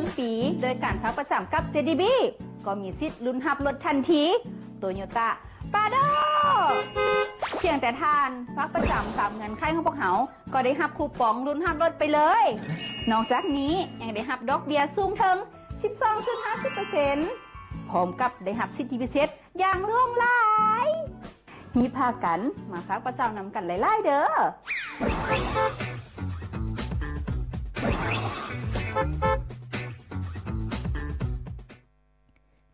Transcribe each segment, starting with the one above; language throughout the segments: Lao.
ນປີ ໂດຍການຝາກປະຈຳກັບ ເຈດີບີ ກໍມີສິດລຸ້ນຮັບລົດທັນທີ ໂຕໂຍຕ້າ ປາໂດ ພຽງແຕ່ທ່ານຝາກປະຈຳຕາມເງື່ອນໄຂຂອງພວກເຮົາ ກໍໄດ້ຮັບຄູປອງລຸ້ນຮັບລົດໄປເລີຍ. ນອກຈາກນີ້ຍັງໄດ້ຮັບດອກເບ້ຍສູງເຖິງ ສິບສອງຈຸດຫ້າສິບເປີເຊັນ ພ້ອມກັບໄດ້ຮັບສິດທິພິເສດຢ່າງຫຼວງຫຼາຍ. ຮີບພາກັນມາຝາກປະຈຳນຳກັນຫຼາຍໆເດີ້.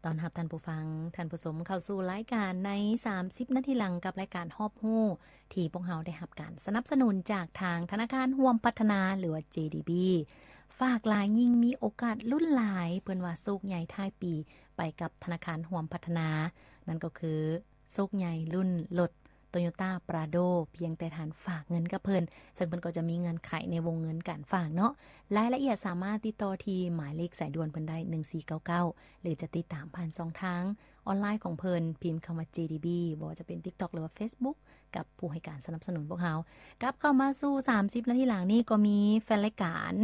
ຕ້ອນຮັບທ່ານຜູ້ຟັງ, ທ່ານຜູ້ຊົມເຂົ້າສູ່ລາຍການໃນສາມສິບນາທີຫຼັງ ກັບລາຍການຮອບຮູ້ ທີ່ພວກເຮົາໄດ້ຮັບການສະໜັບສະໜູນຈາກທາງທະນາຄານຮ່ວມພັດທະນາ ຫຼືວ່າ ເຈດີບີ ຝາກຫຼາຍຍິ່ງມີໂອກາດລຸ້ນຫຼາຍ, ເພິ່ນວ່າໂຊກໃຫຍ່ທ້າຍປີໄປກັບທະນາຄານຮ່ວມພັດທະນາ, ນັ້ນກໍຄື ໂຊກໃຫຍ່ລຸ້ນລົດ ໂຕໂຍຕ້າ ປຣາໂດ ພຽງແຕ່ທ່ານຝາກເງິນກັບເພິ່ນ, ເຊິ່ງເພິ່ນກໍຈະມີເງື່ອນໄຂໃນວົງເງິນການຝາກເນາະ. ລາຍລະອຽດສາມາດຕິດຕໍ່ທີ່ໝາຍເລກສາຍດ່ວນເພິ່ນໄດ້ ໜຶ່ງສີ່ເກົ້າເກົ້າ ຫຼືຈະຕິດຕາມຜ່ານຊ່ອງທາງອອນລາຍຂອງເພິ່ນ, ພິມຄຳວ່າ ເຈດີບີ ບໍ່ວ່າຈະເປັນ TikTok ຫຼືວ່າ Facebook ກັບຜູ້ໃຫ້ການສະໜັບສະໜູນພວກເຮົາ. ກັບເຂົ້າມາສູ່ສາມສິບນາທີຫຼັງນີ້ ກໍມີແຟນລາຍການ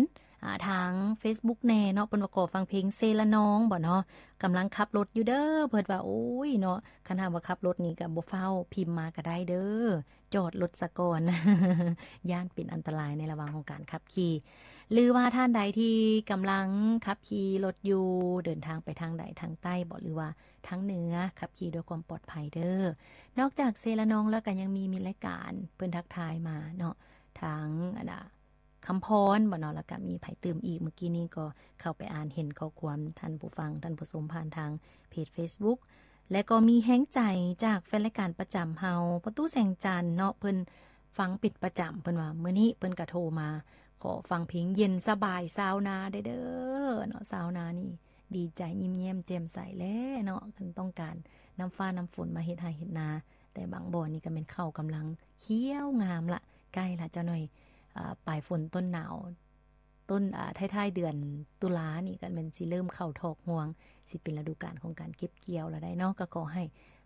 ອ່າ ທາງ Facebook ແດ່ເນາະ, ເພິ່ນວ່າຂໍຟັງເພງເຊລະນອງບໍເນາະ, ກຳລັງຂັບລົດຢູ່ເດີ້ ເພິ່ນວ່າ. ໂອ້ຍເນາະ, ຄັນຫາກວ່າຂັບລົດນີ້ກໍບໍ່ຟ້າວພິມມາກໍໄດ້ເດີ້, ຈອດລົດສາກ່ອນ ຢ້ານເປັນອັນຕະລາຍໃນລະຫວ່າງຂອງການຂັບຂີ່. ຫຼືວ່າທ່ານໃດທີ່ກຳລັງຂັບຂີ່ລົດຢູ່, ເດີນທາງໄປທາງໃດ, ທາງໃຕ້ບໍ ຫຼືວ່າທາງເໜືອ, ຂັບຂີ່ດ້ວຍຄວາມປອດໄພເດີ້. ນອກຈາກເຊລະນອງແລ້ວ ກໍຍັງມີ ມີລາຍການເພິ່ນທັກທາຍມາເນາະ, ທາງ ອັນນ່າ ຄຳພອນບໍເນາະ, ແລ້ວກະມີໃຜຕື່ມອີກ? ມື້ກີ້ນີ້ກໍເຂົ້າໄປອ່ານເຫັນຂໍ້ຄວາມທ່ານຜູ້ຟັງ, ທ່ານຜູ້ຊົມ ຜ່ານທາງເພຈ Facebook ແລະກໍມີແຮງໃຈຈາກແຟນລາຍການປະຈຳເຮົາ ພໍ່ຕູ້ແສງຈັນເນາະ, ເພິ່ນຟັງເປັນປະຈຳ. ເພິ່ນວ່າມື້ນີ້ເພິ່ນກະໂທມາຂໍຟັງເພງເຢັນສະບາຍຊາວນາໄດ້ເດີ້ເນາະ. ຊາວນານີ້ດີໃຈ, ຍິ້ມແຍ້ມແຈ່ມໃສແຫຼະເນາະ, ຄັນຕ້ອງການນ້ຳຟ້ານ້ຳຝົນມາເຮັດໄຮ່ເຮັດນາ, ແຕ່ບາງບ່ອນນີ້ກໍແມ່ນເຂົ້າກຳລັງຂຽວງາມລະ, ໃກ້ລະຈັກໜ່ອຍ ອ່າ ປາຍຝົນຕົ້ນໜາວ, ຕົ້ນ ອ່າ ທ້າຍໆເດືອນຕຸລານີ້ກໍແມ່ນຊິເລີ່ມເຂົ້າຖອກຮວງ, ຊິເປັນລະດູການຂອງການເກັບກ່ຽວລະໄດ໋ເນາະ. ກໍຂໍໃຫ້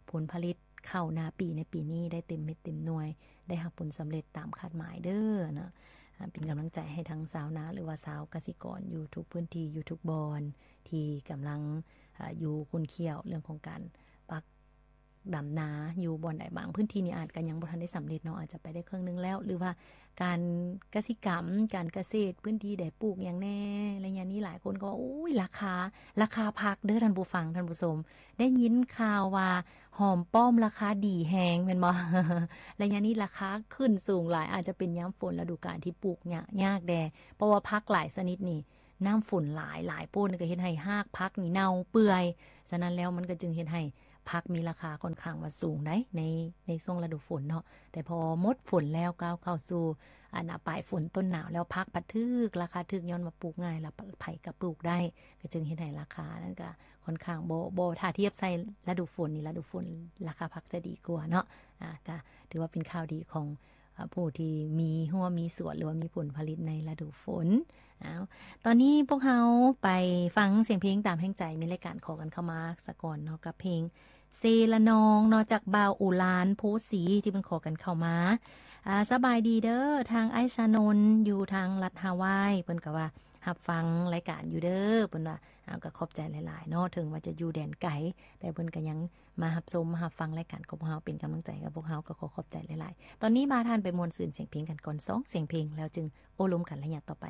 ຜົນຜະລິດເຂົ້ານາປີໃນປີນີ້ໄດ້ເຕັມເມັດເຕັມໜ່ວຍ, ໄດ້ຮັບຜົນສຳເລັດຕາມຄາດໝາຍເດີ້ເນາະ. ອ່າ ເປັນກຳລັງໃຈໃຫ້ທັງຊາວນາ ຫຼືວ່າຊາວກະສິກອນຢູ່ທຸກພື້ນທີ່, ຢູ່ທຸກບ່ອນ ທີ່ກຳລັງ ອ່າ ຢູ່ຂຸ້ນຂ້ຽວເລື່ອງຂອງການປັກ ດຳນາຢູ່ບ່ອນໃດ. ບາງພື້ນທີ່ນີ້ອາດກະຍັງບໍ່ທັນໄດ້ສຳເລັດເນາະ, ອາດຈະໄປໄດ້ເຄິ່ງໜຶ່ງແລ້ວ, ຫຼືວ່າການກະສິກຳ, ການກະເສດ, ພື້ນທີ່ໃດປູກຫຍັງແດ່. ໄລຍະນີ້ຫຼາຍຄົນກໍວ່າ ໂອ້ຍ ລາຄາ, ລາຄາຜັກເດີ້ທ່ານຜູ້ຟັງ, ທ່ານຜູ້ຊົມ, ໄດ້ຍິນຂ່າວວ່າຫອມປ້ອມລາຄາດີແຮງແມ່ນບໍ່? ໄລຍະນີ້ລາຄາຂຶ້ນສູງຫຼາຍ, ອາດຈະເປັນຍາມຝົນລະດູການທີ່ປູກຍາກ, ຍາກແດ່, ເພາະວ່າຜັກຫຼາຍຊະນິດນີ້ ນ້ຳຝົນຫຼາຍ, ຫຼາຍໂພດກໍເຮັດໃຫ້ຮາກຜັກນີ້ເນົ່າເປື່ອຍ. ສະນັ້ນແລ້ວມັນກໍຈຶ່ງເຮັດໃຫ້ຜັກມີລາຄາຂ້ອນຂ້າງວ່າສູງໃດ໋ ໃນ ໃນຊ່ວງລະດູຝົນເນາະ. ແຕ່ພໍໝົດຝົນແລ້ວ ກ້າວເຂົ້າສູ່ ອັນນ່າ ປາຍຝົນຕົ້ນໜາວແລ້ວ, ຜັກພັດຖືກ ລາຄາຖືກ ຍ້ອນວ່າປູກງ່າຍ ແລ້ວໃຜກໍປູກໄດ້, ກໍຈຶ່ງເຮັດໃຫ້ລາຄານັ້ນກໍຂ້ອນຂ້າງບໍ່ ບໍ່ ຖ້າທຽບໃສ່ລະດູຝົນນີ້, ລະດູຝົນລາຄາຜັກຈະດີກວ່າເນາະ. ອາ ກໍຖືວ່າເປັນຂ່າວດີຂອງ ອາ ຜູ້ທີ່ມີຮົ້ວມີສວນ ຫຼືວ່າມີຜົນຜະລິດໃນລະດູຝົນ. ເອົາ ຕອນນີ້ພວກເຮົາໄປຟັງສຽງເພງຕາມແຮງໃຈ, ມີລາຍການຂໍກັນເຂົ້າມາສາກ່ອນເນາະ ກັບເພງເຊລະນອງເນາະ ຈາກບ່າວໂອລານໂພສີ ທີ່ເພິ່ນຂໍກັນເຂົ້າມາ. ອາ ສະບາຍດີເດີ້ ທາງອ້າຍຊານົນ ຢູ່ທາງລັດຮາວາຍ, ເພິ່ນກໍວ່າຮັບຟັງລາຍການຢູ່ເດີ້ ເພິ່ນວ່າ. ເອົາ ກໍຂອບໃຈຫຼາຍໆເນາະ, ເຖິງວ່າຈະຢູ່ແດນໄກ ແຕ່ເພິ່ນກໍຍັງມາຮັບຊົມ ມາຮັບຟັງລາຍການຂອງພວກເຮົາ, ເປັນກຳລັງໃຈກັບພວກເຮົາ, ກໍຂໍຂອບໃຈຫຼາຍໆ. ຕອນນີ້ພາທ່ານໄປມ່ວນຊື່ນສຽງເພງກັນກ່ອນ ສອງສຽງເພງ, ແລ້ວຈຶ່ງໂອ້ລົມກັນໄລຍະຕໍ່ໄປ.